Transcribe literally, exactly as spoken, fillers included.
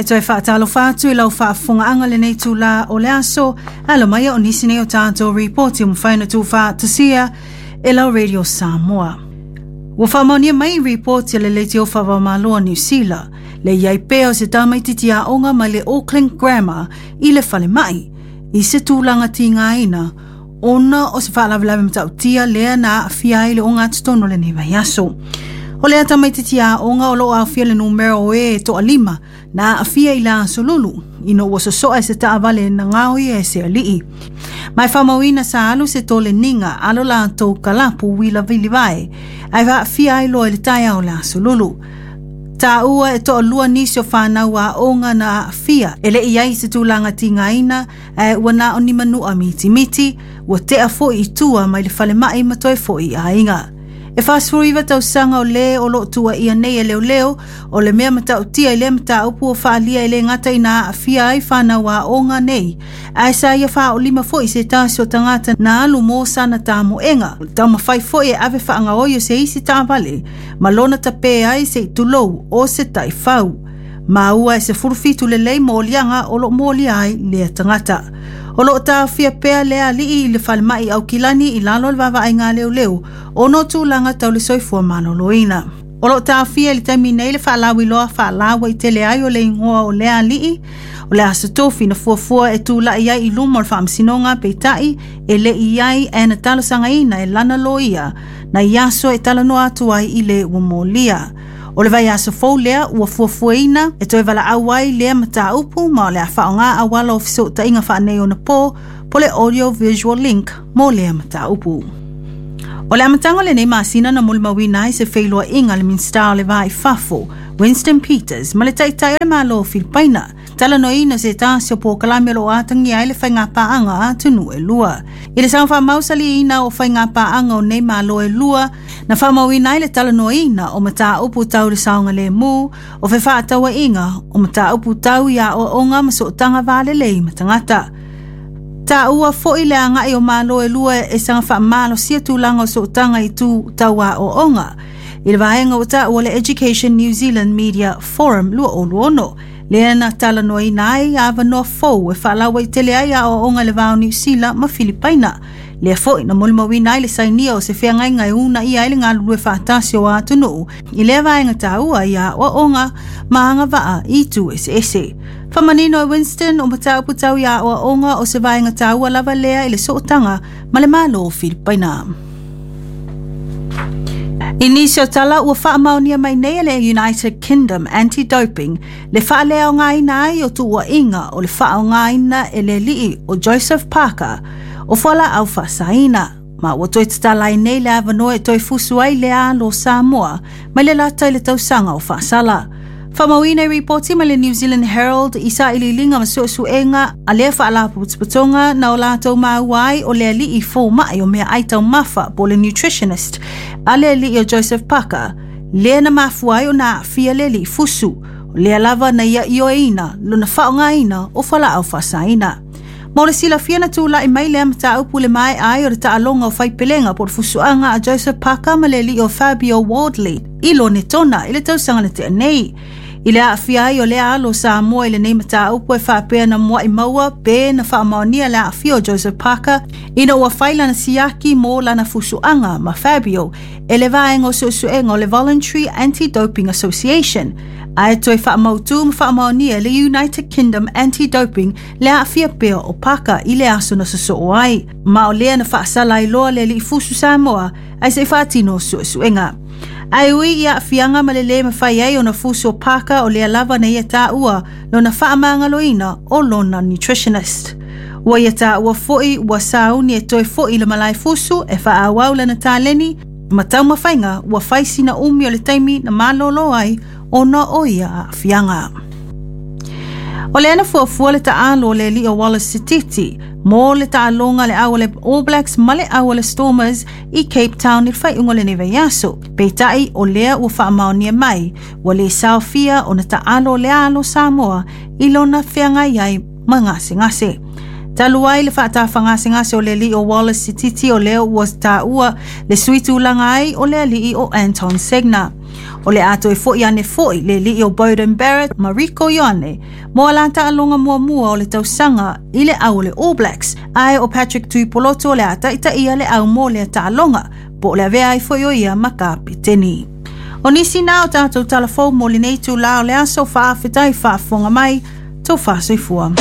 E toe whaatalofa atu i lau faafofogaaga lenei itulā o le aso, alo mai o nisi nei o tatou ripoti ua mafai ona tuufaatasia e lau Radio Samoa. Ua faamaonia mai ripoti a le Leitio Faava-o-Malo a Niu Sila, le i ai pea o se tamaititi aoga mai le Auckland Grammar i le falemai, i se tulaga tigaina, ona o se faalavelave matautia lea na aafia ai le ogatotonu o lenei vaiaso. O lea tamaititi aoga o loo aofia le numera o e toalima na aafia i le aso Lulu, ina ua sosoa e se taavale na gaoia e se alii. Ma e faamauina sa alu se toleniga alo latou kalapu uila vilivae, ae aafia ai loa i le taeao o le aso Lulu. Taua e toalua nisi o fanau aoga na aafia e le i ai se tulaga tigaina, ae ua na o ni manua mitimiti, ua tea foi i tua mai le falemai ma toe foi i aiga. E fasefuluiva tausaga o le o loo tuuaia nei e leoleo o le mea matautia i lea mataupu o faaalia e le gata ina aafia ai fanau aoga nei, ae sa ia faaolima foi se tasi o tagata na alu mo sana tamoega. Taumafai foi e ave faagaoi o se isi taavale ma lona tapē ai se itulou o se taifau. Maua e se fulufitu lelei moliaga o loo molia ai lea tagata. O loo taofia pea lea alii i le falemai Aukilani i lalo o le vaavaaiga a leoleo ona o tulaga tau le soifua maloloina. O loo taofia i le taimi nei le faalauiloa faalauaitele ai o le igoa o lea alii. O le aso Tofi na fuafua e tulai ai i luma o le faamasinoga, peitai e le i ai ae na talosagaina e lana loia na i aso e talanoa atu ai i le ua molia. O le vaiaso fou lea ua fuafuaina e toe valaau ai lea mataupu, ma o le a faaaoga auala o fesootaiga faaneionapo po le audio visual link mo lea mataupu. O le amataga o lenei masina na molimauina ai se feiloaiga le Minisita o le Va i Fafo, Winston Peters, ma le taitai o le Malo o Filipaina, talanoaina se tasi o polokalame o loo atagia ai le faigapaaga a atunuu e lua. I le saga faamausaliina o faigapaaga o nei malo e lua, na faamauina ai le talanoaina o mataupu tau le saogalemu, o fefaatauaiga, o mataupu tau i aoaoga ma sootaga valelei ma tagata. Taua foi le agai o malo e lua e saga faamalosia tulaga o sootaga i tu tau aoaoga i le vaega ua taua le Education New Zealand Media Forum twenty twenty-six, lea na talanoaina ai avanoa fou e faalauaitele ai aoaoga i le va o Niu Sila ma Filipaina. Lea foi na molimauina ai le sainia o se feagaiga e uunaia ai le galulue faatasi o atunuu i lea vaega taua i aoaoga ma agavaa i itu eseese. Faamanino e Winston o mataupu tau i aoaoga o se vaega taua lava lea i le sootaga ma le Malo o Filipaina. I nisi o tala ua faamaonia mai nei e le United Kingdom Anti-Doping le faaleaogaina ai o tuuaiga o le faaaogaina e le alii o Joseph Parker o fualaau faasaina, ma ua toe tatala ai nei le avanoa e toe fusu ai le alo Samoa mai le lata i le tausaga o faasala. Faamauina i ripoti mai le New Zealand Herald i sailiiliga ma suesuega a lea faalapotopotoga na o latou maua ai o le alii fomai o meaai taumafa po o le nutritionist a le alii o Joseph Parker lea na mafua ai ona aafia le alii fusu, o lea lava na ia ioeina lona faaaogaina o fualaau faasaina. Mo le silafia na tulai mai lea mataupu le maea ai o le taaloga o faipelega po o le fusuaga a Joseph Parker ma le alii o Fabio Wardley i Lonetona i le tausaga na tea nei. I le aafia ai o lea alo Samoa i lenei mataupu e faapea na muai maua pe na faamaonia le aafia o Joseph Parker ina ua fai lana siaki mo lana fusuaga ma Fabio e le vaega o suesuega o le Voluntary Anti-Doping Association, ae toe faamautu ma faamaonia le United Kingdom Anti-Doping le aafia pea o Parker i le aso na sosoo ai, ma o lea na faasala ai loa le alii fusu Samoa ae se i faatino suesuega. Ae ui i aafiaga ma le lē mafai ai ona fusu o Parker, o lea lava na ia taua lona faamagaloina o lona nutritionist. Ua ia taua foi ua sauni e toe foi le malae fusu e faaauau lana taleni ma taumafaiga ua fai sina umi o le taimi na malōlō ai ona o ia aafiaga. O lea na fuafua le taalo o le alii o Wallace Sititi mo le taaloga le au a le All Blacks ma le au a le Stormers i Cape Town i le faaiuga o lenei vaiaso. Peitai o lea ua faamaonia mai ua le saofia ona taalo le alo Samoa i lona feagai ai ma gasegase. Talu ai le faatafagasegase o le alii o Wallace Sititi, o lea ua taua le sui tulaga ai o le alii o Anton Segner. O le a toe fo'i ane fo'i le alii o Beauden Barrett ma Rieko Ioane mo a la taaloga muamua o le tausaga i le au o le All Blacks, ae o Patrick Tuipolotu o le a ta'itaia le au mo lea taaloga, po o le avea ai foi o ia ma kapiteni. O nisi na o tatou talafou mo lenei itulā o le aso. Faafetai faafofoga mai, tofa soifua.